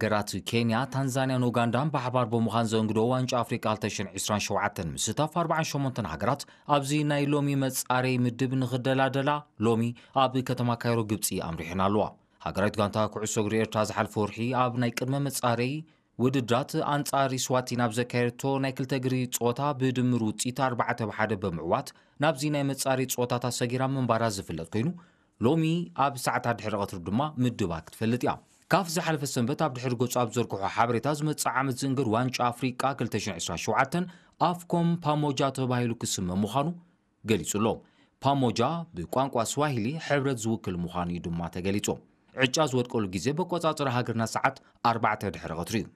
ሃገራት ኬንያ፣ ታንዛንያን ኡጋንዳን ብሓባር ብምዃን ዘንግዶ ዋንጫ ኣፍሪቃ ክልተ ሽሕን ዕስራን ሸውዓተን ምስታፍ ኣርባዓን ሸሞንተን ሃገራት ኣብዚ ናይ ሎሚ መጻረይ ምድብ ንኽደላደላ ሎሚ ኣብ ከተማ ካይሮ ግብጺ ኣምሪሐን ኣለዋ። ሃገራዊት ጋንታ ኩዕሶ እግሪ ኤርትራ ዝሓለፈ ወርሒ ኣብ ናይ ቅድመ መጻረይ ውድድራት ኣንጻር ስዋቲን ኣብ ዘካየደቶ ናይ ክልተ እግሪ ጸወታ ብድምር ውጽኢት ኣርባዕተ ብ ሓደ ብምዕዋት ናብዚ ናይ መጻረይ ጸወታታት ሰጊራ ምንባራ ዝፍለጥ ኮይኑ፣ ሎሚ ኣብ ሰዓታት ድሕሪ ቀትሪ ድማ ምድባ ክትፈልጥ እያ። ካፍ ዝሓለፈ ሰንበት ኣብ ድሕሪ ገጹ ኣብ ዘርግሖ ሓበሬታ፣ ዝመጽእ ዓመት ዝእንገድ ዋንጫ ኣፍሪቃ ክልተ ሽሕን ዕስራን ሸውዓተን ኣፍኮም ፓሞጃ ተባሂሉ ክስመ ምዃኑ ገሊጹ ኣሎ። ፓሞጃ ብቋንቋ ስዋሂሊ ሕብረት ዝውክል ምዃኑ እዩ ድማ ተገሊጹ። ዕጫ ዝወድቀሉ ግዜ በቆጻጽራ ሃገርና ሰዓት ኣርባዕተ ድሕሪ ቀትሪ እዩ።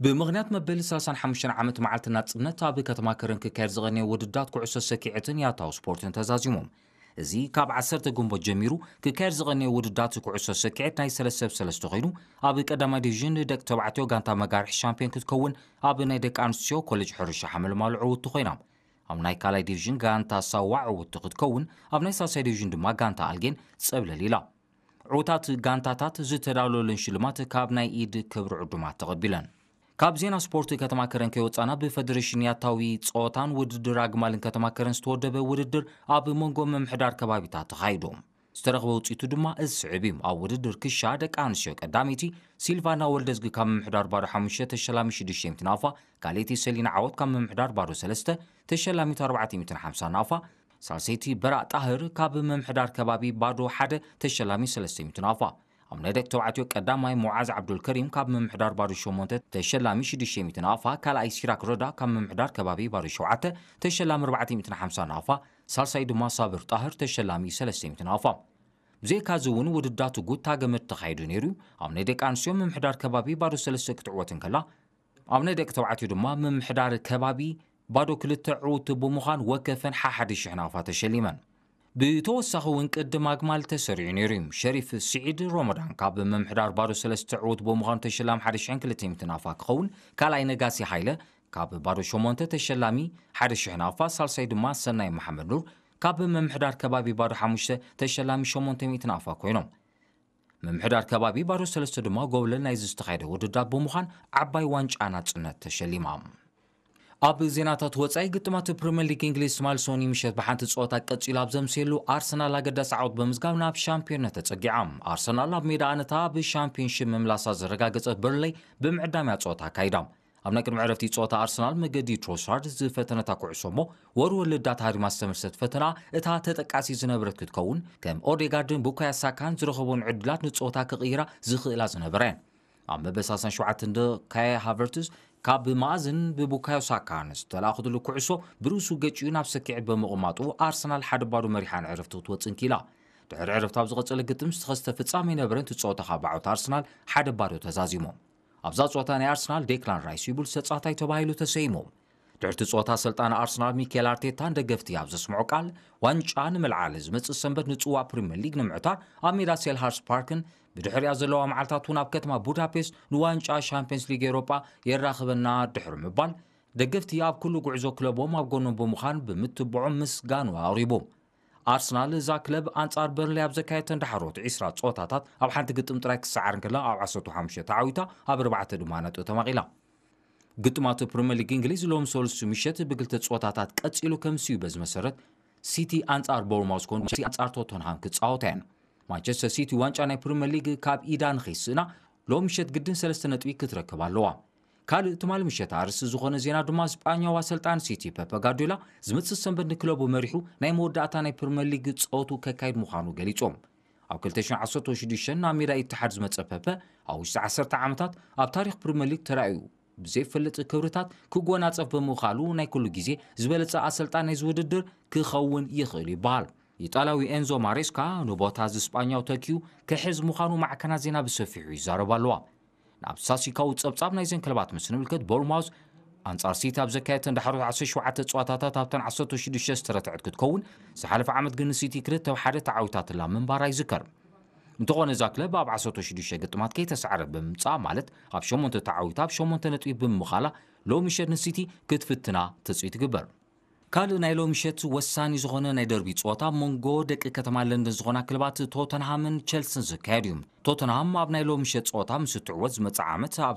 ብምኽንያት መበል ሰላሳን ሓሙሽተን ዓመት መዓልቲ ናጽነት ኣብ ከተማ ከረን ክካየድ ዝቐነየ ውድድራት ኩዕሶ ሰኪዐትን ያታዊ ስፖርትን ተዛዚሞም። እዚ ካብ ዓሰርተ ግንቦት ጀሚሩ ክካየድ ዝቐነየ ውድድራት ኩዕሶ ሰኪዐት ናይ ሰለስተ ብ ሰለስተ ኮይኑ፣ ኣብ ቀዳማይ ዲቪዥን ደቂ ተባዕትዮ ጋንታ መጋርሒ ሻምፒዮን ክትከውን፣ ኣብ ናይ ደቂ ኣንስትዮ ኮሌጅ ሕርሻ ሓመልማሎ ዕውትቲ ኮይና። ኣብ ናይ ካልኣይ ዲቪዥን ጋንታ ሳዋ ዕውትቲ ክትከውን፣ ኣብ ናይ ሳልሳይ ዲቪዥን ድማ ጋንታ ኣልጌን ጸብለል ኢላ። ዕዉታት ጋንታታት ዝተዳለወለን ሽልማት ካብ ናይ ኢድ ክብሪ ዕዱማት ተቐቢለን። ካብ ዜና ስፖርት ከተማ ከረን ከይወጻና፣ ብፈደሬሽን ያታዊ ጸወታን ውድድር ኣግማልን ከተማ ከረን ዝተወደበ ውድድር ኣብ መንጎ ምምሕዳር ከባቢታት ተኻይዱ። ዝተረኽበ ውጽኢቱ ድማ እዚ ስዕብ እዩ። ኣብ ውድድር ክሻ ደቂ ኣንስትዮ ቀዳመይቲ ሲልቫና ወልደዝጊ ካብ ምምሕዳር ባዶ ሓሙሽተ ተሸላሚ ሽዱሽተ ሚእቲ ናቕፋ፣ ካልኣይቲ ሰሊና ዓወት ካብ ምምሕዳር ባዶ ሰለስተ ተሸላሚት ኣርባዕተ ሚእትን ሓምሳን ናቕፋ፣ ሳልሰይቲ በራእ ጣህር ካብ ምምሕዳር ከባቢ ባዶ ሓደ ተሸላሚ ሰለስተ ሚእቲ ናቕፋ። ኣብ ናይ ደቂ ተባዕትዮ ቀዳማይ ሙዓዝ ዓብዱልከሪም ካብ ምምሕዳር ባዶ ሸሞንተ ተሸላሚ ሽዱሽተ ሚእቲ ናቕፋ፣ ካልኣይ ሲራክ ረዳ ካብ ምምሕዳር ከባቢ ባዶ ሸውዓተ ተሸላሚ ኣርባዕተ ሚእትን ሓምሳን ናቕፋ፣ ሳልሳይ ድማ ሳብር ጣህር ተሸላሚ ሰለስተ ሚእቲ ናቕፋ። ብዘይካዚ እውን ውድዳት ጉታ ገመድ ተኻይዱ ነይሩ። ኣብ ናይ ደቂ ኣንስትዮ ምምሕዳር ከባቢ ባዶ ሰለስተ ክትዕወት እንከላ፣ ኣብ ናይ ደቂ ተባዕትዮ ድማ ምምሕዳር ከባቢ ባዶ ክልተ ዕውቲ ብምዃን ወከፈን ሓሓደ ሽሕ ናቕፋ ተሸሊመን። ብተወሳኺ እውን ቅድም ኣግማል ተሰሪዑ ነይሩ እዩ። ሸሪፍ ስዒድ ሮመዳን ካብ ምምሕዳር ባዶ ሰለስተ ዕውት ብምዃኑ ተሸላሚ ሓደ ሽሕን ክልተ ሚእትን ናቕፋ ክኸውን፣ ካልኣይ ነጋሲ ሃይለ ካብ ባዶ ሸሞንተ ተሸላሚ ሓደ ሽሕ ናቕፋ፣ ሳልሳይ ድማ ሰናይ መሓመድ ኑር ካብ ምምሕዳር ከባቢ ባዶ ሓሙሽተ ተሸላሚ ሸሞንተ ሚእቲ ናቕፋ ኮይኖም። ምምሕዳር ከባቢ ባዶ ሰለስተ ድማ ጎብለል ናይዚ ዝተኻየደ ውድድራት ብምዃን ዓባይ ዋንጫ ናጽነት ተሸሊማ። ኣብ ዜናታት ወጻኢ፣ ግጥማት ፕሪምየር ሊግ እንግሊዝ ትማሊ ሰኑይ ምሸት ብሓንቲ ጸወታ ቀጺሉ ኣብ ዘምስየሉ፣ ኣርሰናል ኣገዳሲ ዓወት ብምዝጋብ ናብ ሻምፒዮንነት ተጸጊዓ። ኣርሰናል ኣብ ሜዳ ኣነታ ብሻምፒዮንሺፕ ምምላሳ ዘረጋገጸት በርንሌይ ብምዕዳም እያ ጸወታ ኣካይዳ። ኣብ ናይ ቅድሚ ዕረፍቲ ጸወታ ኣርሰናል መገዲ ትሮሳርድ ዝፈተነታ ኩዕሶ እሞ፣ ወርወር ልዳ ተሃሪማ ዝተመልሰት ፈተና እታ ተጠቃሲ ዝነበረት ክትከውን፣ ከም ኦዴጋርድን ቡካዮ ሳካን ዝረኸቦን ዕድላት ንጸወታ ክቕይራ ዝኽእላ ዝነበረ እየን። ኣብ መበል ሰላሳን ሸውዓተን ደቂቕ ካይ ሃቨርትዝ ካብ ማእዝን ብቡካዮ ሳካ ዝተላእኸትሉ ኩዕሶ ብርእሱ ገጭዩ ናብ ሰኪዐት ብምቕማጡ፣ ኣርሰናል ሓደ ባዶ መሪሓ ንዕረፍቲ ክትወጽእ እንኪላ። ድሕሪ ዕረፍቲ ኣብ ዝቐጸለ ግጥም ዝተኸስተ ፍጻመ ኣይነበረን። እቲ ጸወታ ካብ ብዓወት ኣርሰናል ሓደ ባዶ ተዛዚሙ። ኣብዛ ጸወታ ናይ ኣርሰናል ዴክላን ራይስ ይቡል ተጻዋታይ ተባሂሉ ተሰይሙ። ድሕርቲ ጸወታ ኣሰልጣኒ ኣርሰናል ሚኬል ኣርቴታ ንደገፍቲ ኣብ ዘስምዖ ቃል፣ ዋንጫ ንምልዓል ዝመጽእ ሰንበት ንጽዋዕ ፕሪምየር ሊግ ንምዕታር ኣብ ሜዳ ሴልሃርስ ፓርክን ብድሕሪኣ ዘለዋ መዓልታት እውን ኣብ ከተማ ቡዳፔስት ንዋንጫ ሻምፒየንስ ሊግ ኤውሮጳ የራኽበና ድሕሪ ምባል፣ ደገፍቲ ኣብ ኩሉ ጉዕዞ ክለቦም ኣብ ጎኖም ብምዃን ብምትብዖም ምስጋኑ ኣቕሪቡ። ኣርሰናል እዛ ክለብ ኣንጻር በርንሌ ኣብ ዘካየደተን ዳሕሮት ዕስራ ጸወታታት ኣብ ሓንቲ ግጥም ጥራይ ክሰዓር እንከላ፣ ኣብ ዓሰርተ ሓሙሽተ ተዓዊታ፣ ኣብ ኣርባዕተ ድማ ነጥቢ ተማቒላ። ግጥማት ፕሪምየር ሊግ እንግሊዝ ሎም ሰሉስ ምሸት ብክልተ ጸወታታት ቀጺሉ ከም ስዩ በዚ መሰረት ሲቲ ኣንጻር ቦርማውዝ ኮን ሲቲ ኣንጻር ቶተንሃም ክጻወታ እየን። ማንቸስተር ሲቲ ዋንጫ ናይ ፕሪምየር ሊግ ካብ ኢዳ ንኸይስእና ሎም ምሸት ግድን ሰለስተ ነጥቢ ክትረክብ ኣለዋ። ካልእ ትማሊ ምሸት ኣርእስቲ ዝኾነ ዜና ድማ ስጳኛዊ ኣሰልጣኒ ሲቲ ፔፐ ጋርዲዮላ ዝመጽእ ሰንበት ንክለቡ መሪሑ ናይ መወዳእታ ናይ ፕሪምየር ሊግ ጸወቱ ከካይድ ምዃኑ ገሊጹ። ኣብ ክልተ ሽሕን ዓሰርተ ሽዱሽተን ናብ ሜዳ ኢትሓድ ዝመጸ ፔፐ ኣብ ውሽጢ ዓሰርተ ዓመታት ኣብ ታሪኽ ፕሪምየር ሊግ ተራእዩ ብዘይፈልጥ ክብርታት ክጎናጸፍ ብምኽኣሉ ናይ ኩሉ ግዜ ዝበለጸ ኣሰልጣን ናይዚ ውድድር ክኸውን ይኽእል ይበሃል። ኢጣልያዊ ኤንዞ ማሬስካ ንቦታ እዚ ስጳኛዊ ተኪኡ ክሕዝ ምዃኑ ማዕከናት ዜና ብሰፊሑ ይዛረባ ኣለዋ። ናብ ሳሲካዊ ጸብጻብ ናይዘን ክለባት ምስ ንምልከት፣ ቦርንማውዝ ኣንጻር ሲቲ ኣብ ዘካየደተን ዳሕሮት ዓሰርተ ሸውዓተ ጸዋታታት ኣብተን ዓሰርተ ሽዱሽተ ዝተረትዐት ክትከውን፣ ዝሓለፈ ዓመት ግን ንሲቲ ክልተ ብ ሓደ ተዓዊታትላ ምንባራ ይዝከር። እንተኾነ እዛ ክለብ ኣብ ዓሰርተ ሽዱሽተ ግጥማት ከይተሳዕረት ብምምጻኣ፣ ማለት ኣብ ሸሞንተ ተዓዊታ ኣብ ሸሞንተ ነጥቢ ብምምቓላ፣ ሎሚ ምሸት ንሲቲ ክትፍትና ትጽቢት ይግበር። ካልእ ናይ ሎሚ ምሸት ወሳኒ ዝኾነ ናይ ደርቢ ጸወታ ኣብ መንጎ ደቂ ከተማ ለንደን ዝኾና ክለባት ቶተንሃምን ቸልስን ዝካየድ እዩ። ቶተንሃም ኣብ ናይ ሎሚ ምሸት ጸወታ ምስ እትዕወት ዝመጽእ ዓመት ኣብ